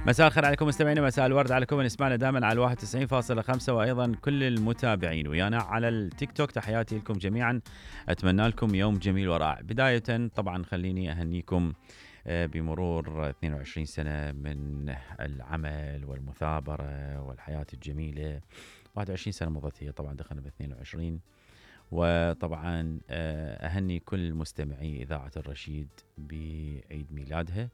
مساء الخير عليكم مستمعينا، مساء الورد عليكم من يسمعنا دائما على 91.5 وايضا كل المتابعين ويانا على التيك توك. تحياتي لكم جميعا، اتمنى لكم يوم جميل ورائع. بداية طبعا خليني اهنيكم بمرور 22 سنة من العمل والمثابرة والحياة الجميلة. 21 سنة مضت هي، طبعا دخلنا ب 22. وطبعا اهني كل مستمعي اذاعة الرشيد بعيد ميلادها،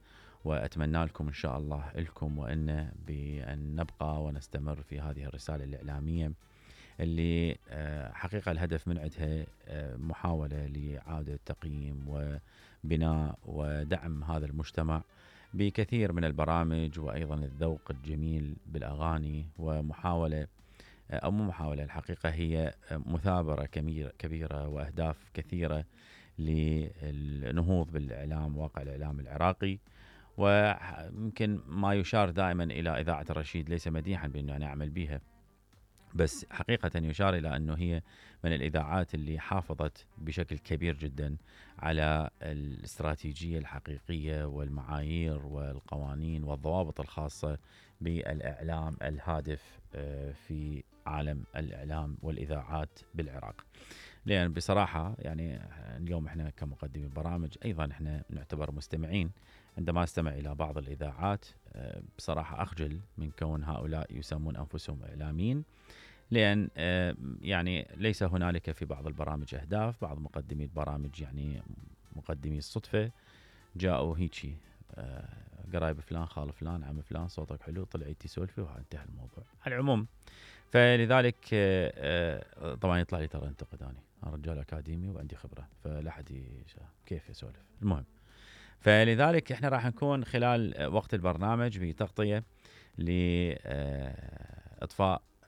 وأتمنى لكم إن شاء الله لكم وإن بأن نبقى ونستمر في هذه الرسالة الإعلامية اللي حقيقة الهدف من عندها محاولة لإعادة تقييم وبناء ودعم هذا المجتمع بكثير من البرامج، وأيضا الذوق الجميل بالأغاني، ومحاولة أو مو محاولة، الحقيقة هي مثابرة كبيرة وأهداف كثيرة للنهوض بالإعلام، واقع الإعلام العراقي. ويمكن ما يشار دائما إلى إذاعة الرشيد ليس مديحا بأنه أنا أعمل بها، بس حقيقة يشار إلى أنه هي من الإذاعات اللي حافظت بشكل كبير جدا على الاستراتيجية الحقيقية والمعايير والقوانين والضوابط الخاصة بالإعلام الهادف في عالم الإعلام والإذاعات بالعراق. لأن بصراحة يعني اليوم احنا كمقدمين برامج أيضا احنا نعتبر مستمعين. عندما استمع إلى بعض الإذاعات بصراحة أخجل من كون هؤلاء يسمون أنفسهم إعلاميين، لأن يعني ليس هنالك في بعض البرامج أهداف. بعض مقدمي البرامج يعني مقدمي الصدفة جاءوا هيجي قرايب فلان، خال فلان، عم فلان، صوتك حلو، طلعتي سولفي وانتهى الموضوع. على العموم فلذلك طبعا يطلع لي ترى انتقد، أنا رجال أكاديمي وعندي خبرة، فلا حد كيف يسولف. المهم، فلذلك احنا راح نكون خلال وقت البرنامج بتغطية لإطفاء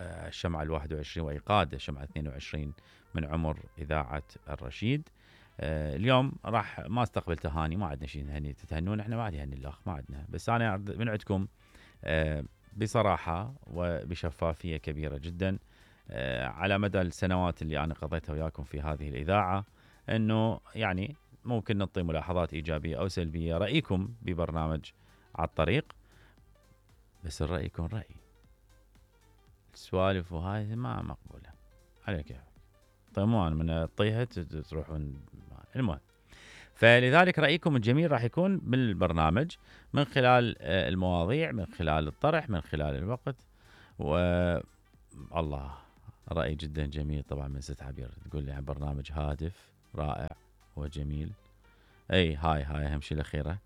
الشمعة 21 وإيقاد الشمعة 22 من عمر إذاعة الرشيد. اليوم راح ما استقبل تهاني، ما عندنا شيء نهني تتهنون، احنا ما عاد يهني الأخ، ما عندنا. بس أنا من عندكم بصراحة وبشفافية كبيرة جدا على مدى السنوات اللي أنا قضيتها وياكم في هذه الإذاعة، أنه يعني ممكن نعطي ملاحظات إيجابية أو سلبية، رأيكم ببرنامج على الطريق، بس الرأي يكون رأي. السوالف وهاي ما مقبولة على كيف. طيب مو أنا من الطيحة تروحون. المهم، فلذلك رأيكم الجميل راح يكون بالبرنامج من خلال المواضيع، من خلال الطرح، من خلال الوقت. والله رأي جدا جميل طبعا من ست عبير، تقول لي عن برنامج هادف رائع وجميل. اي هاي اهم شيء الاخيره.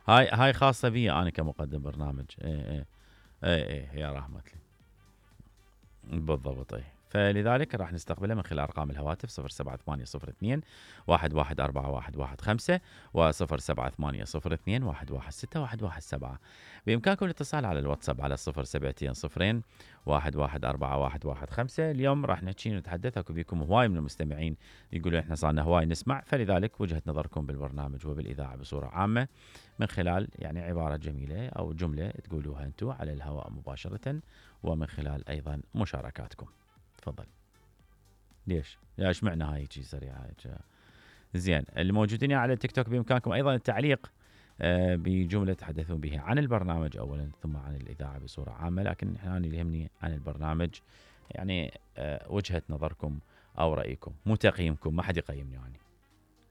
هاي خاصه بي انا كمقدم برنامج. اي يا رحمة لي بالضبط. فلذلك راح نستقبله من خلال ارقام الهواتف 07802 114115 و 07802 116117. بامكانكم الاتصال على الواتساب على 072 114115. اليوم راح نحكي ونتحدث، اكو بيكم هواي من المستمعين يقولوا احنا صارنا هواي نسمع، فلذلك وجهة نظركم بالبرنامج وبالاذاعه بصوره عامه من خلال يعني عباره جميله او جمله تقولوها انتم على الهواء مباشره، ومن خلال ايضا مشاركاتكم. تفضل. ليش معنى هاي شيء سريعه زين. اللي موجودين على التيك توك بامكانكم ايضا التعليق بجمله تحدثون بها عن البرنامج اولا، ثم عن الاذاعه بصوره عامه، لكن انا اللي يهمني عن البرنامج يعني وجهه نظركم او رايكم، مو تقييمكم، ما حد يقيمني يعني،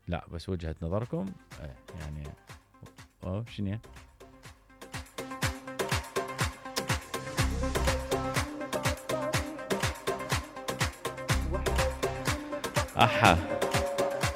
لا بس وجهه نظركم يعني شنو.